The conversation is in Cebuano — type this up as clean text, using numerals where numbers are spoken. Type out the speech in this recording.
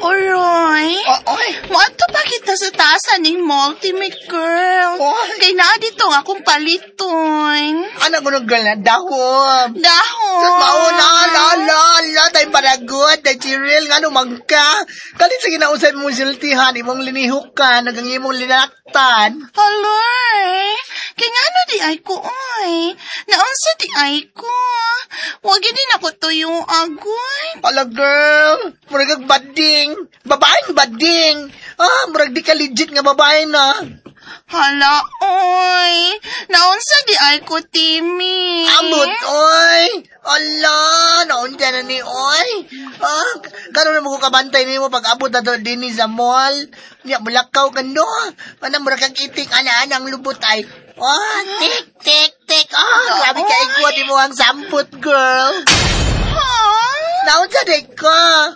Oroy. Oy. Moadto pa kita sa taas ning mall, Timmy girl. Oy. Kay naa dito nga akong paliton. Ano ko girl na dahom? Dahon. Sa mauna, la, la, la, tayo paragot, tayo chiril, nga numang ka. Kalit sa ginausay mong siltihan, imong linihukan, nagang imong linaktan. Haloy, kay ngano di ay ko, oy. Naunsa di ay ko. Wag din ako tuyo agoy. Ala girl, murag kag bading. Babaeng bading. Ah, murag di ka legit nga babae na. Hala, oy. Naunsa di ay ko, Timmy. Amot, oy. Ala, naunsa na ni, oy. Ah, karon na mo ko kabantay nimo pag abot na to dinhi sa mall. Nya mulakaw ka no. Ana murag kag itik ana ang lubot ay. Ah, tik tik tik. Ah, grabe ka igwa di mo ang sampot, girl. Ha? Naunsa day ka?